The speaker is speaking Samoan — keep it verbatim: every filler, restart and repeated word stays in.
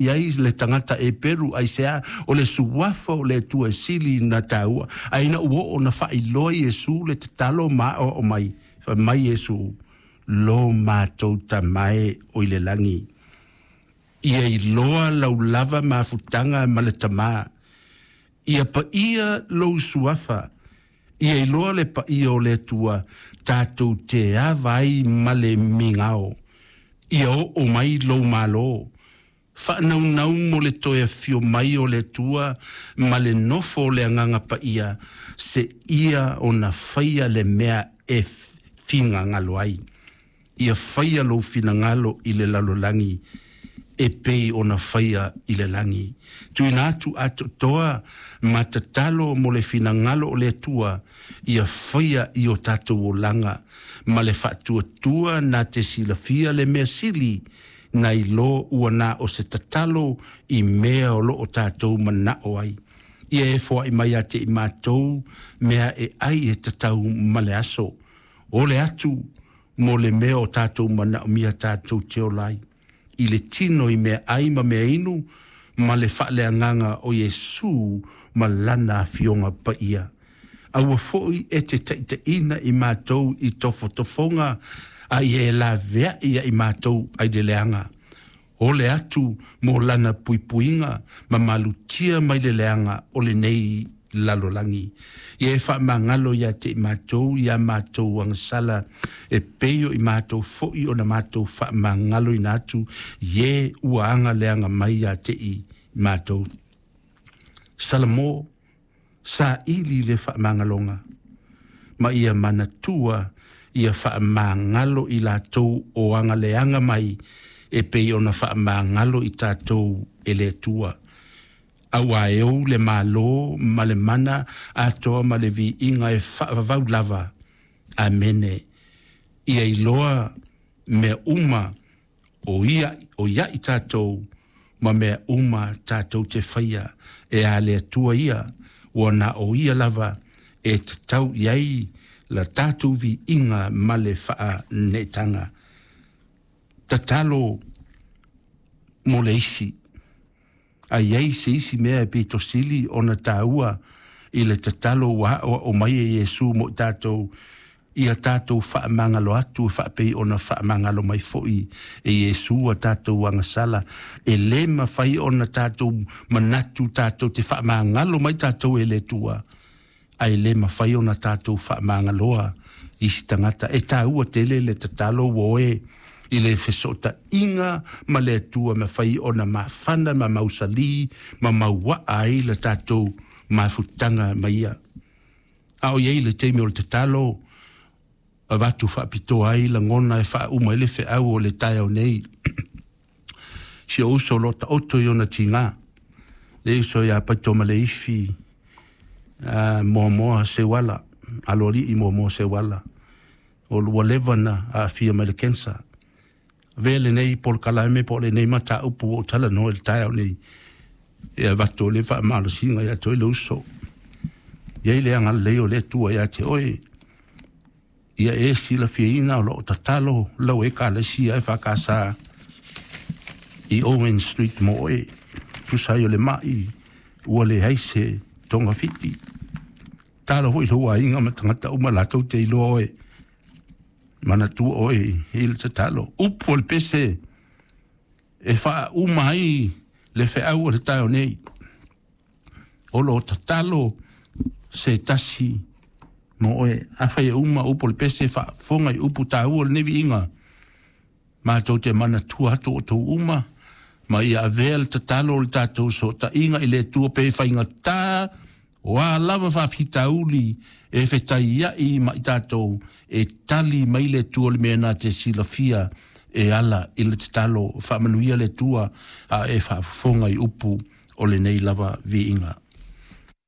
Ai le tagata Eperu aisea o le suafa o le Atua e sili na taua ae ina ua oo ona faailoa Iesu le tatalo ma aoao mai fai mai Iesu lo matou Tama e o i le lagi ia iloa lau lava mafutaga ma le Tamā ia paia lou suafa ia iloa le paia o le Atua tatou te ava ai ma le migao ia oo mai lou Malo faanaunau mo le toe afio mai o le Atua ma le nofo o le Agaga Paia seia ona faia le mea e finagalo ai ia faia lou finagalo i le lalolagi e pei ona faia i le lagi. Tuuina atu atoatoa ma tatalo mo le finagalo o le Atua ia faia i o tatou olaga ma le faatuatua na te silafia le mea sili nai lo ua na o se tatalo i mea o loo tatou manao ai. Ia e foai mai ia te i matou mea e ai e tatau ma le aso. O le atu mo le mea o tatou manaomia tatou te ola ai. I le tino i mea ai ma mea inu ma le faaleagaga o Iesu ma lana afioga paia. Aua foi e te taitaiina i matou i tofotofoga a ia e laveai ia i matou ai le leaga. O le atu mo lana puipuiga ma malutia mai le leaga o lenei lalolagi. Ia e faamagalo ia te i matou ia matou agasala e pei o i matou foi ona matou faamagaloina atu ie ua agaleaga mai ia te i matou. Salamo saili le faamagaloga ma ia manatua ia faamagalo i latou o agaleaga mai e pei ona faamagalo i tatou e le Atua. Auā e ou le Malo ma le mana atoa ma le viiga e faavavau lava. Amene. Ia iloa mea uma o ia o ia i tatou ma mea uma tatou te faia e a le Atua ia ua na o ia lava e tatau i ai la tatou viiga ma le faaneetaga. Tatalo mo le isi. A i ai se isi mea e pito sili ona taua i le tatalo ua aoao mai e Iesu mo i tatou ia tatou faamagalo atu e faapei ona faamagalo mai foi e Iesu a tatou agasala e lē mafai ona tatou manatu tatou te faamagalo mai tatou e le Atua ae lē mafai ona tatou faamagaloa isi tagata e taua tele le tatalo ua oe i le fesootaiga ma le Atua mafai ona mafana ma mausali ma mauaa ai le tatou mafutaga ma ia. A o iai le taimi o le tatalo avatu faapitoa ai lagona e faauma ai le feau o le taeao nei. Si ou uso o lo o taoto i ona tiga, le uso ia Paito ma le Ifi uh, Moamoa Seuala, aloalii Moamoa Seuala, o ua leva na aafia mai le cancer. Avea lenei polokalame po o lenei mataupu ua ou talanoa i le taeao nei e avatu o le faamalosiga ia te oe le uso. I ai le agalelei o le Atua ia te oe. Ia e silafiaina o loo tatalo lau Ekalesia E F K S i Owen Street mo oe. Tusa ai o le mai ua leai se togafiti. Talo foi lou aiga ma tagata uma latou te iloa oe. Manatua oe i le tatalo. Upu o le pese e faauma ai le feau o le taeao nei. O lo o tatalo se tasi mo oe. Afai e uma upu o le pese faafofoga i upu taua o lenei viiga. Matou te manatua atu o tou uma ma ia avea le tatalo o le tatou sootaiga i le Atua pe faigata o a lava faafitauli e fetaiai ma i tatou e tali mai le Atua le mea na te silafia e ala i le tatalo. Faamanuia le Atua a e faafofoga i upu o lenei lava viiga.